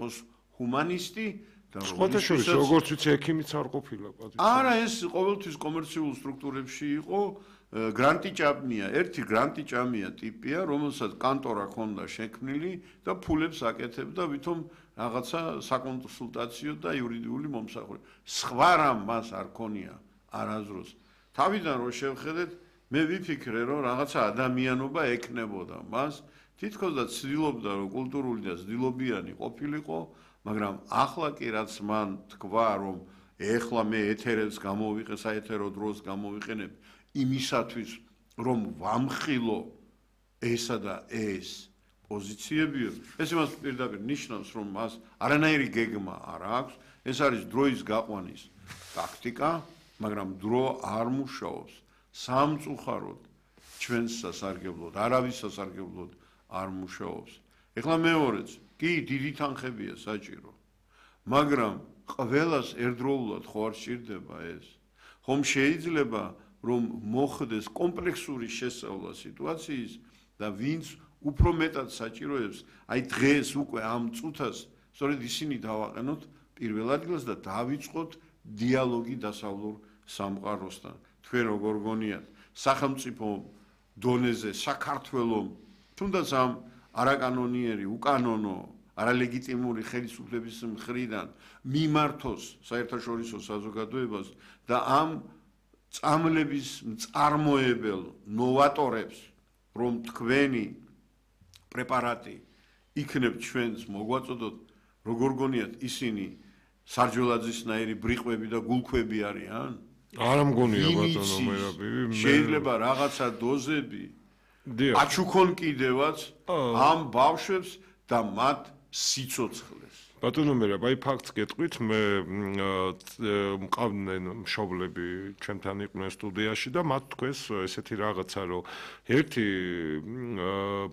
სამოქალაქოს ჰუმანისტი და სხვადასხვა როგორც ვიცი ექიმიც არ ყოფილა პატივს. არა, ეს ყოველთვის კომერციულ სტრუქტურებში იყო გრანტი ჭამია, ერთი გრანტი ჭამია ტიპია, რომელსაც კანტორა ჰქონდა შექმნილი და ფულებს აკეთებდა ვითომ რაღაცა საკონსულტაციო და იურიდიული მომსახურება. სხვა რამ მას არ ქონია არასდროს. თავიდან რო შევხედეთ, მე ვიფიქრე, რომ რაღაცა ადამიანობა ექნებოდა მას, თითქოს და ცდილობდა რომ კულტურული და ცდილობიანი ყოფილიყო, მაგრამ ახლა კი რაც მან თქვა, რომ ეხლა მე ეთერებს გამოვიყე, საეთერო დროს გამოვიყენებ იმისათვის, რომ ვამხილო ესა და ეს პოზიციებიო, ეს იმას პირდაპირ ნიშნავს, რომ მას არანაირი გეგმა არ აქვს, ეს არის დროის გაყვანის ტაქტიკა, მაგრამ დრო არ მუშაობს სამწუხაროდ ჩვენს სასარგებლოდ, არავის სასარგებლოდ არ მუშაობს. ეხლა მეორეც, კი, დიდი თანხებია საჭირო, მაგრამ ყველას ერთდროულად ხო არ სჭირდება ეს. ხომ შეიძლება რომ მოხდეს კომპლექსური შესწავლა სიტუაციის და ვინც უფრო მეტად საჭიროებს, აი დღეს უკვე ამ წუთას სწორედ ისინი დავაყენოთ პირველ ადგილს და დავიწყოთ დიალოგი დასავლურ სამყაროსთან. თქვენ როგორ გონიათ, სახელმწიფო დონეზე საქართველოს თუნდაც ამ არაკანონიერი, უკანონო, არალეგიტიმური ხელისუფლების მხრიდან მიმართოს საერთაშორისო საზოგადოებას და ამ წამლების მწარმოებელ ნოვატორებს, რომ თქვენი პრეპარატი იქნებ ჩვენს მოგვაწოდოთ, როგორ გონიათ ისინი სარჯველაძისნაირი ბრიყვები და გულქვები არიან? არა მგონია ბატონო მერაბი. შეიძლება რაღაცა დოზები აჩუქონ კიდევაც ამ ბავშვებს და მათ სიცოცხლეს. ბატონო მერაბ, აი ფაქტს გეტყვით, მე მყავდნენ მშობლები ჩემთან იყვნენ სტუდიაში და მათ თქვეს ესეთი რაღაცა, რომ ერთი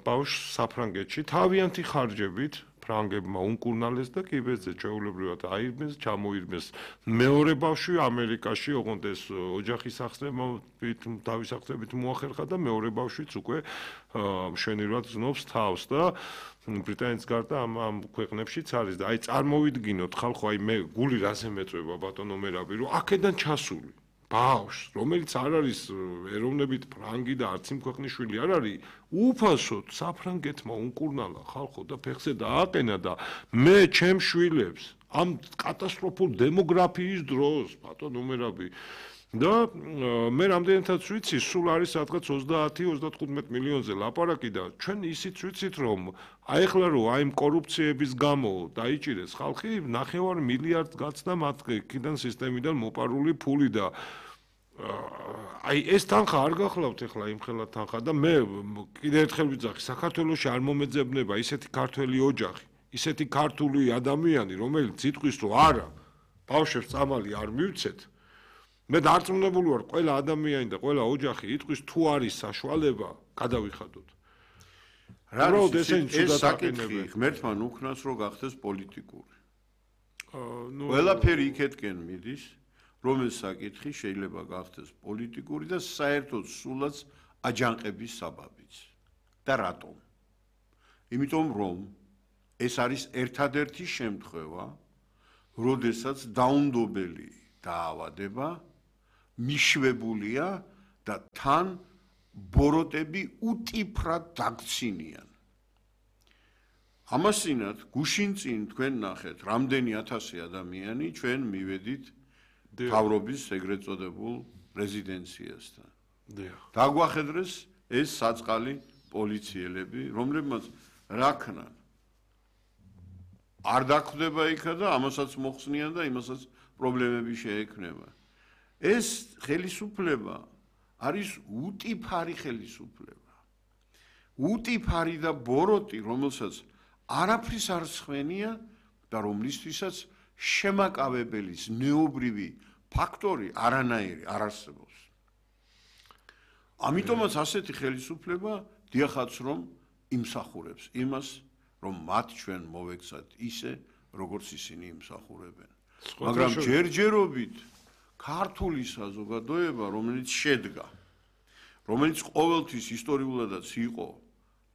ბავშვს საფრანგეთში თავიანთი ხარჯებით ფრანგებმა უნკურნალეს და კიბეზე ჩვეულებრივად აირბეს, ჩამოირბეს. მეორე ბავშვი ამერიკაში, ოღონდ ეს ოჯახის სახსრებით, თავის სახსრებით მოახერხა და მეორე ბავშვიც უკვე მშვენივრად ზნობს თავს და ბრიტანეთის გარდა ამ ქვეყნებშიც არის და აი წარმოვიდგინოთ ხალხო, აი მე გული რაზე მეწვევა ბატონო მერაბი, რომ აქედან ჩასული ბავშვს, რომელიც არ არის ეროვნებით ფრანგი და არც იმ ქვეყნის შვილი არ არის, უფასოდ საფრანგეთმა უნკურნალა ხალხო და ფეხზე დააყენა და მე ჩემ შვილებს ამ კატასტროფულ დემოგრაფიის დროს ბატონო მერაბი და მე რამდენადაც ვიცი, სულ არის სადღაც 30-35 მილიონზე ლაპარაკი და ჩვენ ისიც ვიცით, რომ აი ახლა რომ აი კორუფციების გამო დაიჭირეს ხალხი 9 მილიარდს გაცდა მათ კიდან სისტემიდან მოპარული ფული და აი ეს თანხა არ გახლავთ ახლა იმ ხელა თანხა და მე კიდევ ერთხელ ვიძახი, საქართველოში არ მომეძებნება ისეთი ქართველი ოჯახი, ისეთი ქართული ადამიანი, რომელიც იტყვის, რომ არა, ბავშვებს წამალი არ მივცეთ. მე დარწმუნებული ვარ, ყველა ადამიანი და ყველა ოჯახი იტყვის, თუ არის საშუალება, გადავიხადოთ. რა ეს საკითხი ღმერთმა უქნას, რომ გახდეს პოლიტიკური. ყველაფერი იქეთკენ მიდის, რომ ეს საკითხი შეიძლება გახდეს პოლიტიკური და საერთოდ სულაც აჯანყების საბაბიც. და რატომ? იმიტომ რომ ეს არის ერთადერთი შემთხვევა, როდესაც დაუნდობელი დაავადება მიშვებულია და თან ბოროტები უტიფრად დაგცინიან. ამასინათ გუშინ წინ თქვენ ნახეთ, რამდენი 1000 ადამიანი ჩვენ მივედით მთავრობის ეგრეთ წოდებულ რეზიდენციასთან. დაგვახედრეს ეს საწყალი პოლიციელები, რომლებმაც რა ქნან. არ დახვდება იქა და ამასაც მოხსნიან და იმასაც პრობლემები შეექმნება. ეს ხელისუფლება არის უტიფარი ხელისუფლება. უტიფარი და ბოროტი, რომელსაც არაფრის არ ცხენია და რომლისთვისაც შემაკავებელის ნეობრივი ფაქტორი არანაირი არ არსებობს. ამიტომაც ასეთი ხელისუფლება დიახაც რომ იმსახურებს იმას, რომ მათ ჩვენ მოვექცათ ისე, როგორც ისინი იმსახურებენ. მაგრამ ჯერჯერობით ქართული საზოგადოება, რომელიც შედგა, რომელიც ყოველთვის ისტორიულადაც იყო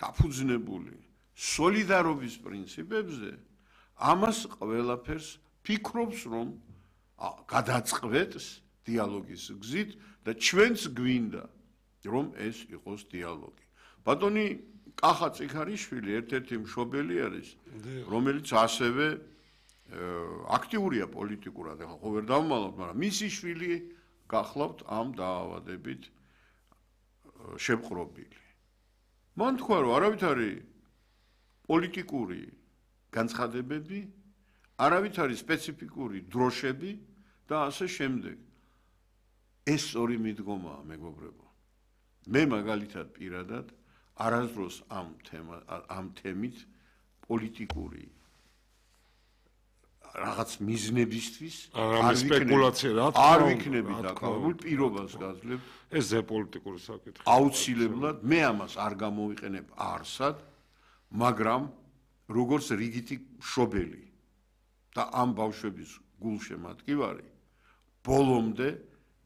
დაფუძნებული სოლიდარობის პრინციპებზე, ამას ყველაფერს ფიქრობს, რომ გადაწყվეთს დიალოგის გზით და ჩვენც გვინდა, რომ ეს იყოს დიალოგი. ბატონი კახა წიქარიშვილი ერთ-ერთი მშობელი არის, რომელიც ასევე აქტიურია პოლიტიკურად, ახლა ხო ვერ დავმალოთ, მაგრამ მისი შვილი გახლავთ ამ დაავადებით შემყრობილი. მან თქვა, რომ არავითარი პოლიტიკური განცხადებები, არავითარი სპეციფიკური დროშები და ასე შემდეგ. ეს ორი მიდგომაა, მეგობრებო. მე მაგალითად პირადად არასდროს ამ თემით პოლიტიკური რაღაც მიზნებისთვის არ ვიქნები დაკავებული, პირობას გაძლევ. ეს ზე პოლიტიკური საკითხი. აუცილებლად მე ამას არ გამოვიყენებ არსად, მაგრამ როგორც რიგითი მშობელი და ამ ბავშვების გულშემატკივარი, ბოლომდე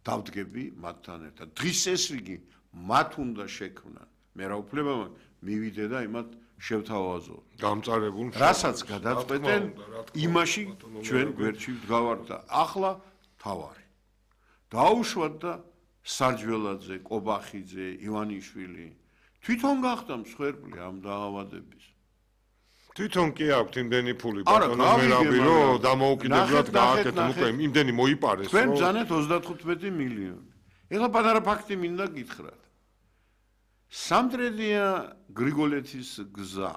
დავდგები მათთან ერთად. დღის ეს რიგი მათ უნდა შექმნან. მე რა უფლება მაქვს მივიდე და იმათ შევთავაზო. გამწარებულ რასაც გადაწყვეტენ, იმაში ჩვენ გვერდში ვდგავართ და ახლა თავარი. დაუშვათ და სარჯველაძე, კობახიძე, ივანიშვილი თვითონ გახდა მსხვერპლი ამ დაავადების. თვითონ კი აქვთ იმდენი ფული ბატონო მერაბი რომ დამოუკიდებლად გააკეთეთ უკვე იმდენი მოიპარეს რომ თქვენ ბრძანეთ 35 მილიონი. ეხლა პატარა ფაქტი მინდა გითხრათ. სამტრედია გრიგოლეთის გზა.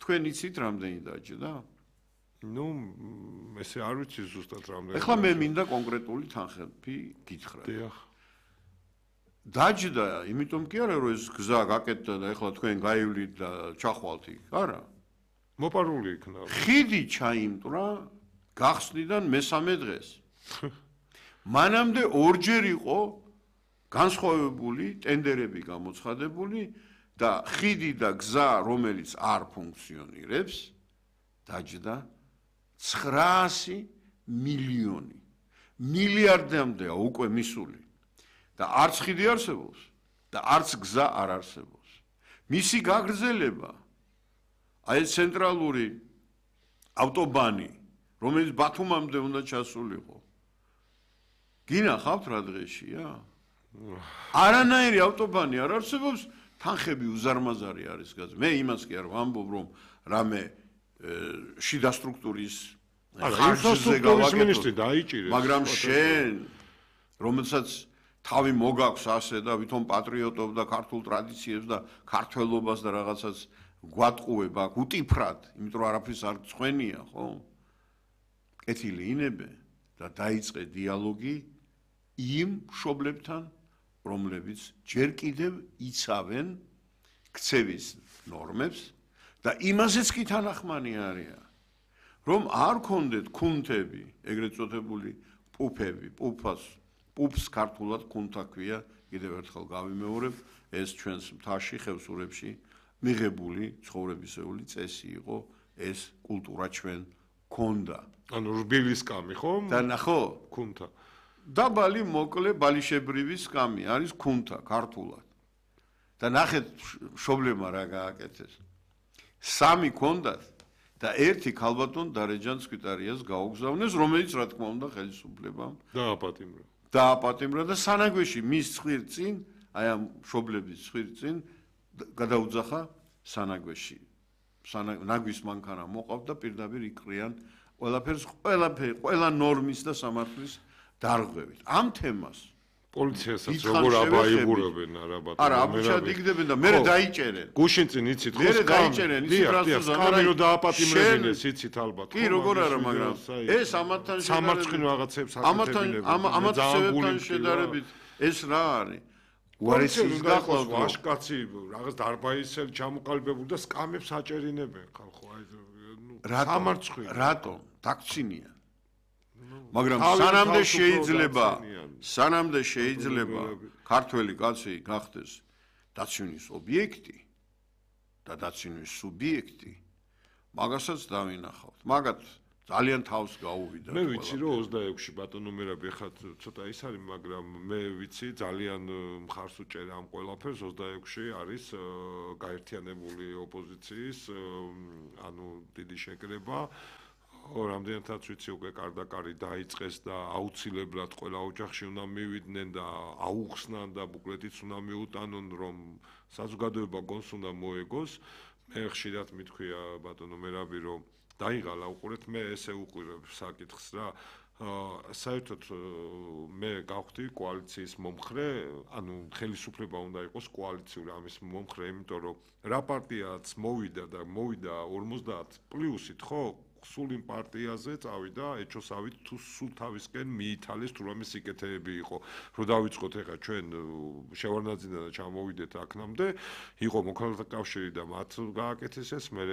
თქვენ იცით რამდენი დაჯდა? ნუ ესე არ ვიცი ზუსტად რამდენი. ეხლა მე მინდა კონკრეტული თანხები გითხრათ. დიახ. დაჯდა, იმიტომ კი არა რომ ეს გზა გაკეთდა და ეხლა თქვენ გაივლით და ჩახვალთ იქ, არა? მოპარული იქნა. ხიდი ჩაიმტრა გახსნიდან მესამე დღეს. მანამდე ორჯერ იყო განსხვავებული ტენდერები გამოცხადებული და ხიდი და გზა, რომელიც არ ფუნქციონირებს, დაჯდა 900 მილიონი. მილიარდამდეა უკვე მისული. და არც ხიდი არსებობს და არც გზა არ არსებობს. მისი გაგრძელება აი ცენტრალური ავტობანი, რომელიც ბათუმამდე უნდა ჩასულიყო. გინახავთ რა დღეშია? არანაირი ავტობანი არ არსებობს, თანხები უზარმაზარი არის გაზ. მე იმას კი არ ვამბობ, რომ რამე შიდა სტრუქტურის ინფრასტრუქტურის მინისტრი დაიჭირეს. მაგრამ შენ, რომელსაც თავი მოგაქვს ასე და ვითომ პატრიოტობ და ქართულ ტრადიციებს და ქართველობას და რაღაცას გვატყუებ აქ უტიფრად, იმიტომ რომ არაფრის არ წვენია, ხო? კეთილი ინებე და დაიწყე დიალოგი იმ მშობლებთან, რომლებიც ჯერ კიდევ იცავენ ქცევის ნორმებს და იმასეც კი თანახმანი არიან, რომ არ ქონდეთ ქუნთები, ეგრეთ წოდებული პუფები, პუფს ქართულად ქუნთა ქვია, კიდევ ერთხელ გავიმეორებ, ეს ჩვენს მთაში, ხევსურებში მიღებული ცხოვრებისეული წესი იყო, ეს კულტურა ჩვენ ქონდა. ანუ რბილის კამი, ხო? და ნახო, ქუნთა. დაბალი მოკლე ბალიშებრივი სკამი არის ქუნთა ქართულად. და ნახეთ მშობლებმა რა გააკეთეს. 3 ქონდათ და ერთი ქალბატონ დარეჯან სკვიტარიას გაუგზავნეს, რომელიც რა თქმა უნდა ხელისუფლებამ დააპატიმრა და სანაგვეში მის ცხვირწინ, აი ამ მშობლების ცხვირწინ გადაუძახა სანაგვეში. ნაგვის მანქანა მოყავთ და პირდაპირ იკრიან ყველაფერს, ყველა ნორმის და სამართლის დარღვევით. ამ თემას პოლიციასაც როგორ აბაიბურებენ არა ბატონო. არა, აბუჩადიგდებენ და მე დაიჭერენ. გუშინ წინ იცით ხო? მე დაიჭერენ, იცით რა სკამი რო დააპატიმრებინეს, იცით ალბათ. კი, როგორ არა, მაგრამ ეს ამათთან სამარცხინო რაღაცებს აკეთებინებენ. შედარებით ეს რა არის? უარესის გახლავთ ვაშკაცი, რაღაც დარბაისელი ჩამოყალიბებული და სკამებს აჭერინებენ ხალხო. აი ნუ სამარცხინო. რატომ? დაქცინიან. მაგრამ სანამდე შეიძლება ქართველი კაცი გახდეს დაცვინის ობიექტი და დაცვინის სუბიექტი, მაგასაც დავინახავთ. მაგათ ძალიან თავს გაუვიდა. მე ვიცი რომ 26-ში ბატონო მერაბი ხა ცოტა ის არის, მაგრამ მე ვიცი ძალიან მხარს უჭერა ამ ყველაფერს 26-ში არის გაერთიანებული ოპოზიციის ანუ დიდი შეკრება რამდენადაც ვიცი უკვე კარდაკარი დაიწყეს და აუცილებლად ყველა ოჯახში უნდა მივიდნენ და აუხსნან და ბუკლეტიც უნდა მიუტანონ რომ საზოგადოება გონს უნდა მოეგოს მე ხშირად მithქვია ბატონო მერაბი რომ დაიღალა უყურეთ მე ესე უყურებ საკითხს რა საერთოდ მე გავხდი კოალიციის მომხრე ანუ ხელისუფლება უნდა იყოს კოალიციური ამის მომხრე იმიტომ რომ რა პარტიაც მოვიდა და მოვიდა 50 პლუსით ხო სულ იმ პარტიაზე წავიდა ეჩოსავით თუ სულ თავისკენ მიითალეს თუ რამე სიკეთეები იყო რომ დავიწყოთ ეხა ჩვენ შევარნაძიდან და ჩამოვიდეთ აქნამდე იყო მოქალაქეთა კავშირი და მათ გააკეთეს ეს მე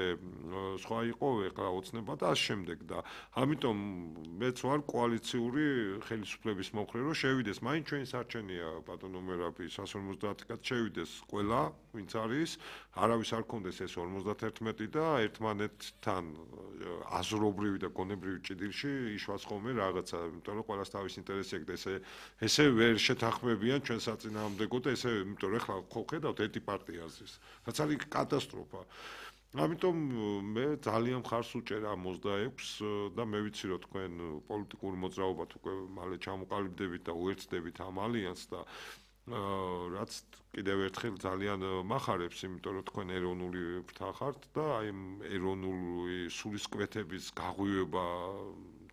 სხვა იყო ეხლა ოცნება და ამ შემდეგ და ამიტომ მეც ვარ კოალიციური ხელისუფლების მომხრე რომ შევიდეს მაინც ჩვენი სარჩენია ბატონო მერაბი 150 კაც შევიდეს ყველა ვინც არის არავის არ კონდეს ეს 51 და ერთმანეთთან აზრობრივი და გონებრივი ჭიდილში იშვას ხოლმე რაღაცა, იმიტომ რომ ყველას თავის ინტერესი აქვს და ესე ვერ შეთანხმებიან ჩვენ საწინააღმდეგოდ, ესე იმიტომ რომ ახლა ხო ხედავთ ერთი პარტია აზრის. რაც არის კატასტროფა. ამიტომ მე ძალიან მხარს უჭერა 26 და მე ვიცი რომ თქვენ პოლიტიკური მოძრაობათ უკვე მალე ჩამოყალიბდებით და უერთდებით ამ ალიანსს და რაც კიდევ ერთხელ ძალიან მახარებს, იმიტომ რომ თქვენ ეროვნული ფრთა ხართ და აი ეროვნული სულისკვეთების გაღვივება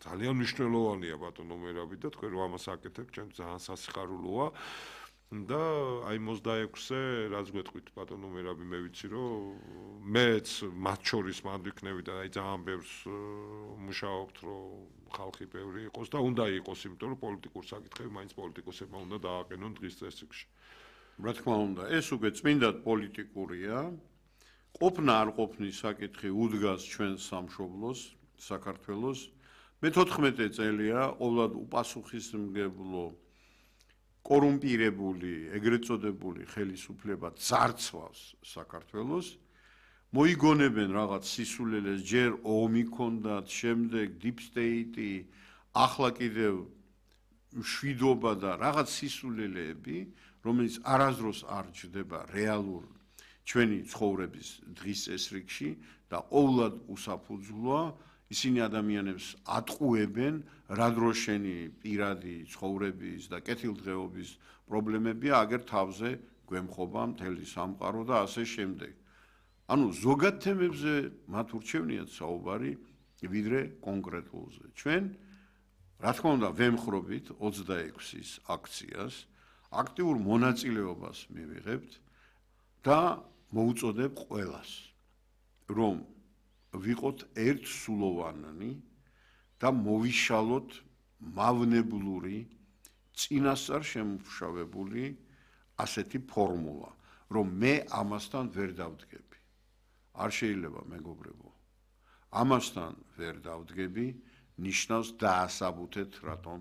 ძალიან მნიშვნელოვანია ბატონო მერაბი და თქვენ რომ ამას აკეთებთ, ჩვენ ძალიან სასიხარულოა და აი 26-ზე რაც გვეტყვით ბატონო მერაბი მე ვიცი რომ მეც მათ შორის მანდ ვიქნები და აი ძალიან ბევრს მუშაობთ რომ ხალხი ბევრი იყოს და უნდა იყოს, იმიტომ რომ პოლიტიკურ საკითხები მაინც პოლიტიკოსებმა უნდა დააყენონ დღის წესრიგში. რა თქმა უნდა, ეს უკვე წმინდად პოლიტიკურია. ყოფნა არ ყოფნის საკითხი უდგას ჩვენ სამშობლოს, საქართველოს. მე 14 წელია ყოვლად უპასუხისმგებლო კორუმპირებული, ეგრეთ წოდებული ხელისუფლება ძარცვავს საქართველოს. მოიგონებენ რაღაც სისულელეს, ჯერ ომი ქონდათ, შემდეგ deep state-ი, ახლა კიდევ მშვიდობა და რაღაც სისულელეები, რომელიც არასდროს არ ჯდება რეალურ ჩვენი ცხოვრების დღის წესრიგში და ყოვლად უსაფუძვლოა, ისინი ადამიანებს ატყუებენ, რა დროს შენი პირადი ცხოვრების და კეთილდღეობის პრობლემებია, აგერ თავზე გვემხობა მთელი სამყარო და ასე შემდეგ. ანუ ზოგად თემებზე მათ ურჩევნიათ საუბარი ვიდრე კონკრეტულზე. ჩვენ რა თქმა უნდა ვემხრობით 26-ის აქციას, აქტიურ მონაწილეობას მივიღებთ და მოუწოდებ ყველას, რომ ვიყოთ ერთსულოვანი და მოვიშალოთ მავნებლური წინასწარ შემუშავებული ასეთი ფორმულა, რომ მე ამასთან ვერ დავდგები. არ შეიძლება მეგობრებო. ამასთან ვერ დავდგები, ნიშნავს დაასაბუთეთ, რატომ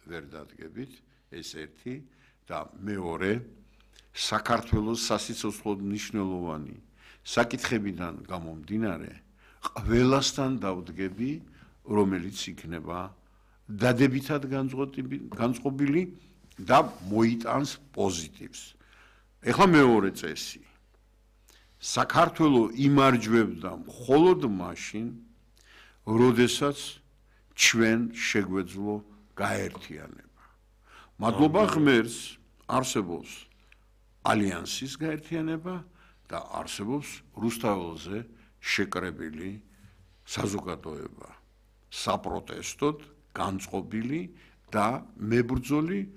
ვერ დადგებით, ეს ერთი და მეორე საქართველოს სასიცოცხლოდ მნიშვნელოვანი საკითხებიდან გამომდინარე, ყველასთან დავდგები, რომელიც იქნება დადებითად განწყობილი და მოიტანს პოზიტივს. ეხლა მეორე წესი. საქართველო იმარჯვებდა მხოლოდ მაშინ, როდესაც ჩვენ შეგვეძლო გაერთიანება. მადლობა ღმერთს არსებობს ალიანსის გაერთიანება და არსებობს რუსთაველზე შეკრებილი საზოგადოება, საპროტესტოდ განწყობილი და მებრძოლი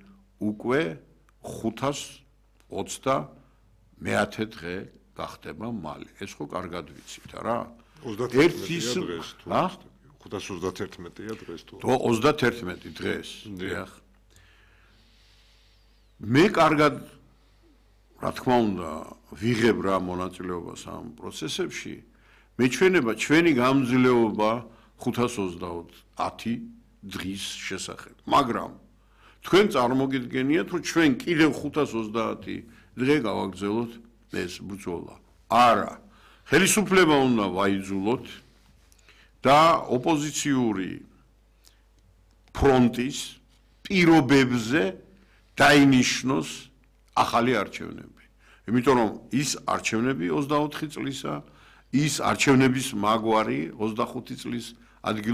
უკვე 520 დღე გახდება მალე. ეს ხო კარგად ვიცით რა? 31-ია დღეს თუ 531-ია დღეს თუ 31 დღეს. დიახ. მე კარგად რა თქმა უნდა ვიღებ რა მონაწილეობას ამ პროცესებში. მეჩვენება ჩვენი გამძლეობა 530 დღის შესახებ. მაგრამ თქვენ წარმოგიდგენიათ რომ ჩვენ კიდევ 530 დღე გავაგრძელოთ ეს ბრძოლა. არა. ხელისუფლება უნდა ვაიძულოთ და ოპოზიციური ფრონტის პირობებზე დაინიშნოს ახალი არჩევნები. იმიტომ რომ ის არჩევნები 24 წლისა, ის არჩევნების მაგვარი 25 წლის ადგილ